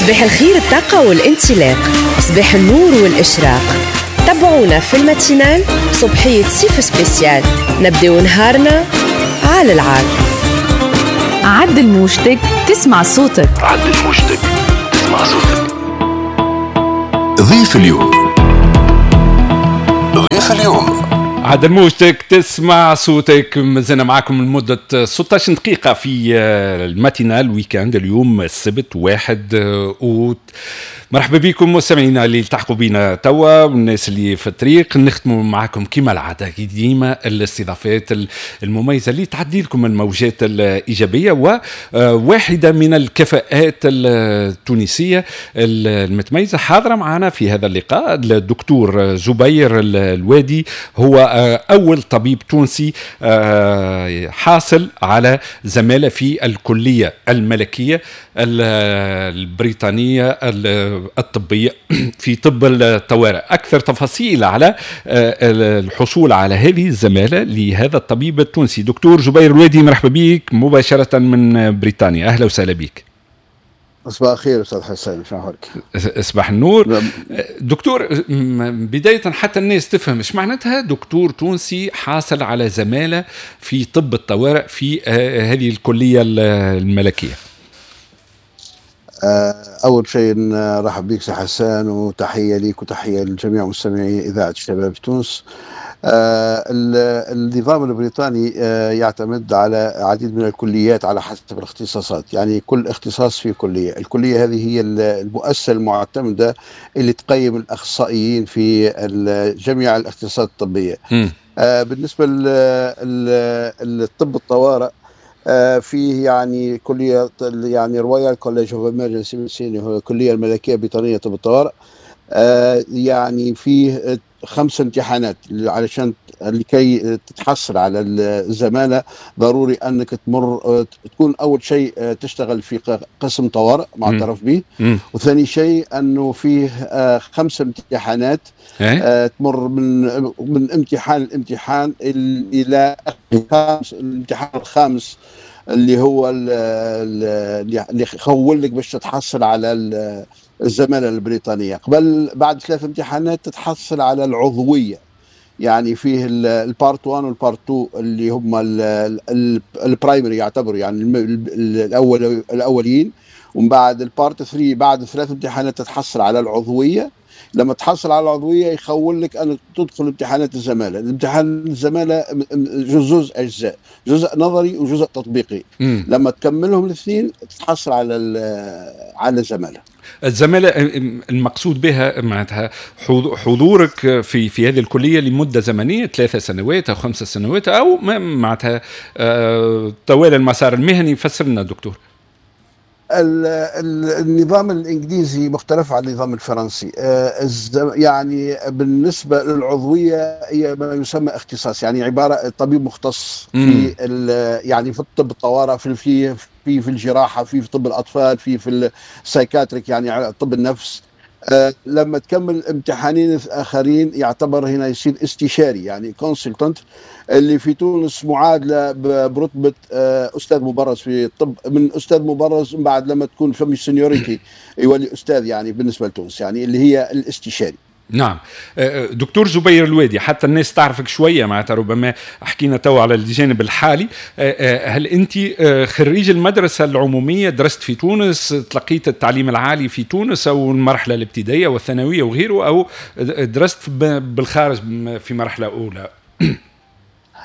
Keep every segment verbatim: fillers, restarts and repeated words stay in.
صباح الخير، الطاقة والانطلاق، صباح النور والإشراق. تابعونا في ال matinale صبحية صيف spécial، نبداو نهارنا على العال. عدل موجتك تسمع صوتك. عدل موجتك تسمع صوتك. ضيف اليوم، ضيف اليوم. عدل موجتك تسمع صوتك. مازلنا معكم لمدة ستة عشر دقيقة في ال matinale week-end، اليوم السبت واحد أوت. مرحبا بكم مستمعينا اللي التحقوا بنا توا والناس اللي في الطريق. نختموا معكم كما العادة ديما الاستضافات المميزة اللي تعدي لكم الموجات الايجابيه، وواحدة من الكفاءات التونسية المتميزة حاضره معنا في هذا اللقاء، الدكتور زبير الوادي، هو اول طبيب تونسي حاصل على زمالة في الكلية الملكية البريطانية الطبية في طب الطوارئ. أكثر تفاصيل على آه، الحصول على هذه الزمالة لهذا الطبيب التونسي، دكتور زبير الوادي، مرحبا بك مباشرة من بريطانيا، أهلا وسهلا بك. صباح الخير استاذ حسين، شنو احوالك؟ صباح النور. نعم. دكتور، بداية حتى الناس تفهم ايش معناتها دكتور تونسي حاصل على زمالة في طب الطوارئ في آه، هذه الكلية الملكية. آه، أول شيء نرحب بك سي حسان، وتحية لك وتحية لجميع مستمعي إذاعة الشباب في تونس. آه، النظام البريطاني آه، يعتمد على عديد من الكليات على حسب الاختصاصات، يعني كل اختصاص في كلية. الكلية هذه هي المؤسسة المعتمدة اللي تقيم الأخصائيين في جميع الاختصاصات الطبية. م. بالنسبة للطب الطوارئ آه، فيه يعني كليه، يعني Royal College of Emergency Medicine، هو الكلية الملكية البريطانية طب الطوارئ، آه، يعني فيه خمس امتحانات علشان لكي تتحصل على الزمالة. ضروري أنك تمر آه، تكون أول شيء آه، تشتغل في قسم طوارئ معترف به، وثاني شيء أنه فيه خمس امتحانات إيه؟ تمر من من امتحان الامتحان إلى الامتحان الخامس، اللي هو اللي يخول لك باش تتحصل على الزمالة البريطانية. قبل بعد ثلاث امتحانات تتحصل على العضوية، يعني فيه ال part واحد وال part اثنين اللي هم ال primary يعتبروا، يعني الاول الاوليين، ومن بعد ال part ثلاثة، بعد ثلاث امتحانات تتحصل على العضويه. لما تحصل على العضوية يخول لك ان تدخل امتحانات الزماله. الامتحان الزمالة جزء اجزاء، جزء نظري وجزء تطبيقي. م. لما تكملهم الاثنين تحصل على على الزماله. الزمالة المقصود بها معناتها حضورك في في هذه الكلية لمدة زمنية ثلاثة سنوات أو خمسة سنوات أو معناتها آه، طوال المسار المهني. فسر لنا دكتور. النظام الانجليزي مختلف عن النظام الفرنسي. آه، يعني بالنسبة للعضويه هي ما يسمى اختصاص، يعني عبارة طبيب مختص في يعني في الطب الطوارئ، في في في في الجراحه، في في طب الاطفال، في في ال psychiatric، يعني طب النفس. آه، لما تكمل امتحانين اخرين يعتبر هنا يصير استشاري، يعني consultant، اللي في تونس معادلة برتبة آه، استاذ مبرز في الطب. من استاذ مبرز من بعد لما تكون فما seniority يولي استاذ، يعني بالنسبة لتونس يعني اللي هي الاستشاري. نعم، آه، دكتور زبير الوادي، حتى الناس تعرفك شويه، معناتها ربما حكينا تو على الجانب الحالي، آه، هل انت خريج المدرسة العموميه، درست في تونس، تلقيت التعليم العالي في تونس او المرحلة الابتدائية والثانويه وغيره، او درست بالخارج في مرحلة اولى؟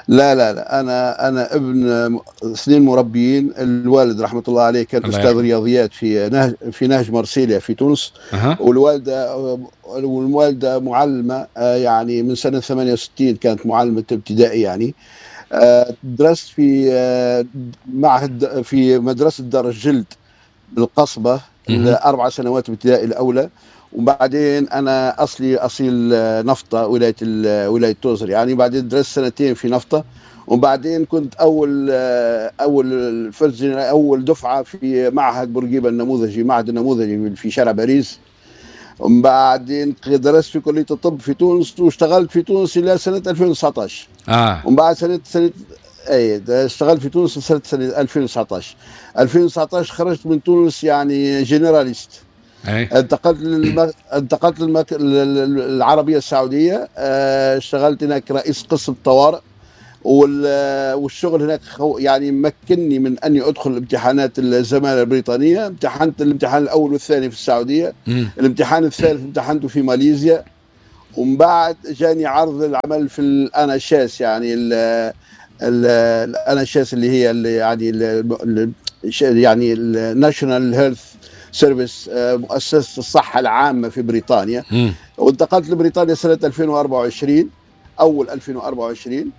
لا لا لا، انا انا ابن اثنين مربيين. الوالد رحمه الله عليه كان استاذ رياضيات في نهج في نهج مرسيليا في تونس. أه. والوالده والوالده معلمه، آه، يعني من سنة ثمانية وستين كانت معلمه ابتدائي. يعني آه، درست في آه، معهد في مدرسه دار الجلد بالقصبه اربع سنوات ابتدائي الاولى. وبعدين انا اصلي اصيل نفطه، ولايه ولايه توزر يعني. بعدين درست سنتين في نفطه، وبعدين كنت اول اول first اول دفعه في معهد بورقيبة النموذجي، معهد النموذجي في شارع باريس. ومن بعدين درست في كليه الطب في تونس، واشتغلت في تونس الى سنة ألفين وتسعطاش. اه ومن بعد سنه سنه اي اشتغلت في تونس سنه سنه ألفين وتسعطاش. ألفين وتسعطاش خرجت من تونس يعني généraliste. أي. انتقلت للم... انتقلت للمك... العربية السعودية، اشتغلت هناك رئيس قسم طوارئ، والشغل هناك يعني مكنني من اني ادخل امتحانات الزمالة البريطانية. امتحنت الامتحان الاول والثاني في السعودية، م. الامتحان الثالث امتحنته في ماليزيا، ومن بعد جاني عرض العمل في ال NHS، يعني ال NHS اللي هي اللي يعني ال يعني ال National Health Service، مؤسسة الصحة العامة في بريطانيا. م. وانتقلت لبريطانيا سنة ألفين وأربعة وعشرين، اول ألفين وأربعة وعشرين،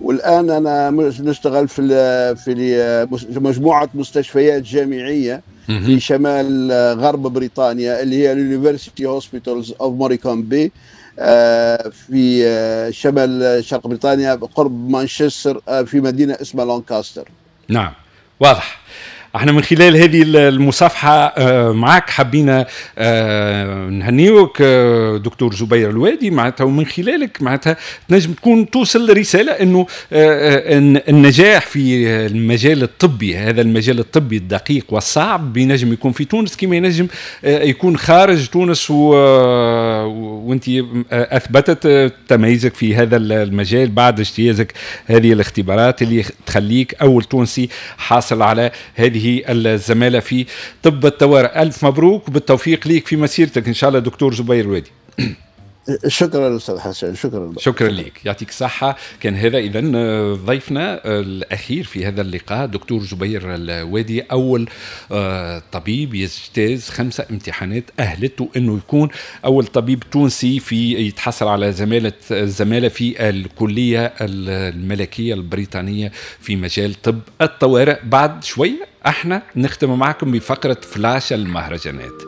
والان انا نشتغل في في مجموعة مستشفيات جامعية في شمال غرب بريطانيا اللي هي ال University Hospitals of Morecambe Bay، في شمال شرق بريطانيا قرب مانشستر في مدينة اسمها لانكاستر. نعم واضح. احنا من خلال هذه المصافحة معك حبينا نهنيوك دكتور زبير الوادي، معناتها ومن خلالك معناتها تنجم تكون توصل رسالة انه النجاح في المجال الطبي، هذا المجال الطبي الدقيق والصعب، بينجم يكون في تونس كما ينجم يكون خارج تونس، و... وانت اثبتت تميزك في هذا المجال بعد اجتيازك هذه الاختبارات اللي تخليك اول تونسي حاصل على هذه الزمالة في طب الطوارئ. ألف مبروك وبالتوفيق ليك في مسيرتك إن شاء الله دكتور زبير الوادي. شكرا أستاذ حسن، شكرا شكرا لك، يعطيك الصحة. كان هذا إذا ضيفنا الأخير في هذا اللقاء دكتور زبير الوادي، أول طبيب يجتاز خمسة امتحانات أهلته أنه يكون أول طبيب تونسي في يتحصل على زمالة الزمالة في الكلية الملكية البريطانية في مجال طب الطوارئ. بعد شوية احنا نختم معكم بفقرة فلاش المهرجانات.